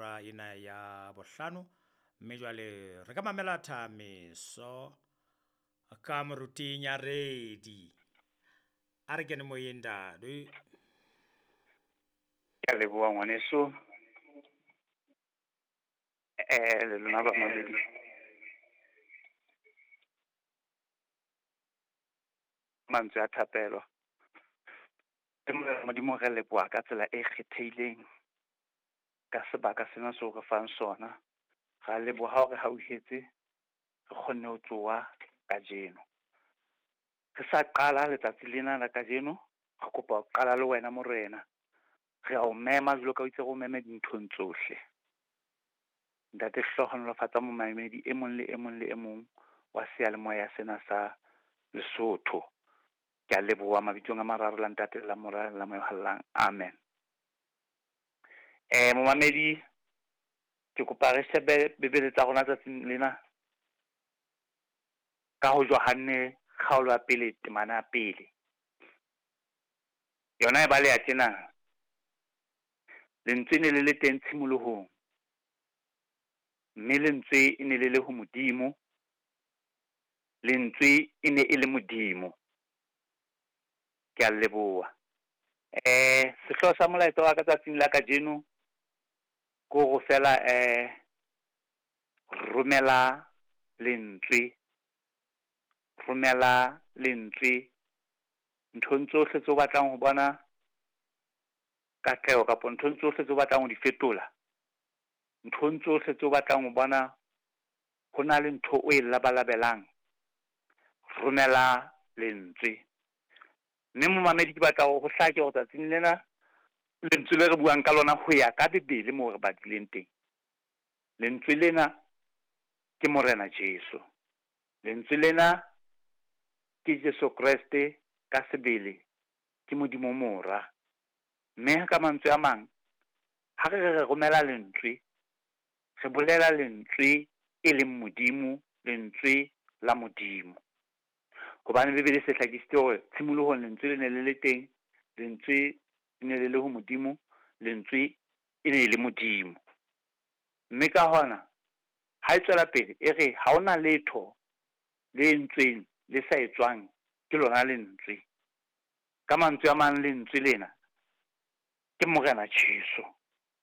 hora ena ya bohlano. Mme jwale re ka mamela Thameso ka moruting ya redi. A re kene moyeng ntate. Ke a leboha ngwaneso. Le lona bamamedi. Mantswe a thapelo. Modimo re leboha ka tsela e kgethehileng ka sebaka sena seo re fang sona. Ra leboha hore hauhetse re kgonne ho tsoha kajeno. Re sa qala letsatsi lena la kajeno, re kopa ho qala le wena Morena. Re a o mema jwalo ka o itse re o meme dinthong tsohle. Ntate, hlohonolofatsa momamedi e mong le e mong le e mong wa seyalemoya sena sa Lesotho. Ke a leboha mabitsong a mararo la Ntate la Mora la Moya o Halalelang. Amen. Momamedi, ke kopa re shebe Bibele tsa rona tsatsing lena ka ho Johanne kgaolo ya pele temana ya pele. Yona e baleha tjena. Lentswe ne le le teng tshimolohong, mme lentswe e ne le le ho Modimo, lentswe e ne e le Modimo. Ke a leboha. Sehlooho sa molaetsa wa ka tsatsing la kajeno ke hore feela romela lentswe, romela lentswe nthong tsohle tseo batlang ho bona katleho kapa nthong tsohle tseo batlang ho di fetola, nthong tsohle tseo batlang ho bona ho na le ntho o e labalabelang, romela lentswe. Mme momamedi ke batla hore ho hlake hore tsatsing lena lentswe le re buang ka lona ho ya ka Bibele moo re badileng teng. Lentswe lena ke Morena Jesu. Lentswe lena ke Jesu Kreste ka sebele, ke Modimo Mora. Mme ka mantswe a mang, ha re re romela lentswe, re bolela lentswe e leng Modimo, lentswe la Modimo. Hobane Bibele se hlakisitse hore tshimolohong lentswe le ne le le teng, lentswe le ne le le ho Modimo, lentswe e ne le Modimo. Mme ka hona ha e tswela pele e re ha hona letho le entsweng le sa etswang ke lona lentswe. Ka mantswe a mang lentswe lena ke Morena Jesu.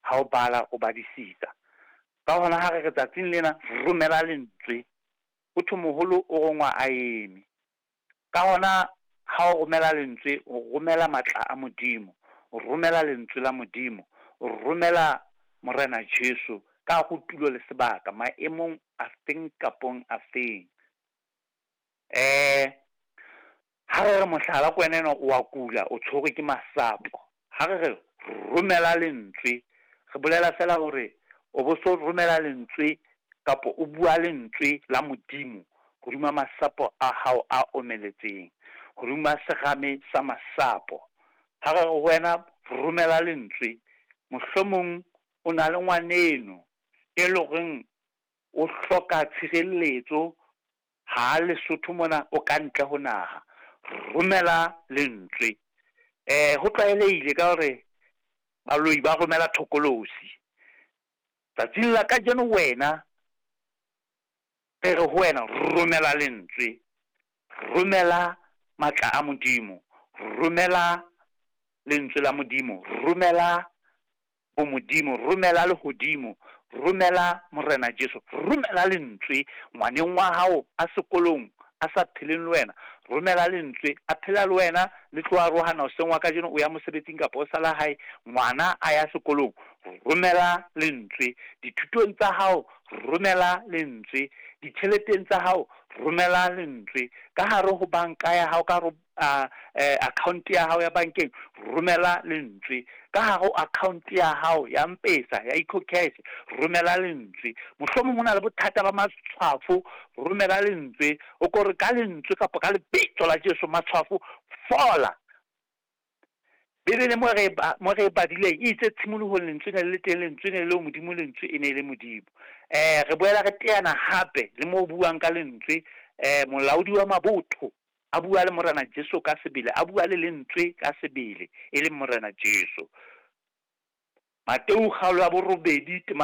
Ha o bala o badisisa. Ka hona ha re re tsatsing lena romela lentswe, ho thwe moholo o rongwa a eme. Ka hona ha o romela lentswe, o romela matla a Modimo, o romela lentswe la Modimo, o romela Morena Jesu ka ho tulo le sebaka maemong a feng kapong a feng. Ha re re mohlala ko wena enwa o a kula, o tshwerwe ke masapo. Ha re re romela lentswe, re bolela fela hore o bo so romela lentswe kapa o bua lentswe la Modimo hodima masapo a hao a omeletseng, hodima serame sa masapo. Ha re re ho wena romela lentswe, mohlomong o na le ngwaneno e leng horeng o hloka tshireletso ha Lesotho mona o ka ntle ho naha, romela lentswe. Ho tlwaelehile ka hore baloi ba romela thokolosi. Tsatsing la kajeno wena re re ho wena romela lentswe, romela matla a Modimo, romela lentswe la Modimo, romela bo Modimo, romela lehodimo, romela Morena Jesu, romela lentswe ngwaneng wa hao a sekolong a sa pheleng le wena, romela lentswe a phela le wena, le tlo arohana hoseng wa kajeno o ya mosebetsing kapa o sala hae, ngwana a ya sekolong, romela lentswe. Dithutong tsa hao romela lentswe, ditjheleteng tsa hao romela lentswe, ka hare ho banka ya hao, ka hare account ya hao ya bankeng romela lentswe, ka hare ho account ya hao ya M-Pesa ya EcoCash romela lentswe. Mohlomong ho na le bothata ba matshwafo, romela lentswe. O ko re ka lentswe kapa ka lebitso la Jesu matshwafo fola. Bibele mo re e badileng e itse tshimolohong lentswe ne le teng, lentswe ne le ho Modimo, lentswe e ne le Modimo. Re boela re teana hape le mo buang ka lentswe, molaodi wa mabotho a bua le Morena Jesu ka sebele, a bua le lentswe ka sebele e leng Morena Jesu. Mateu kgaolo ya 8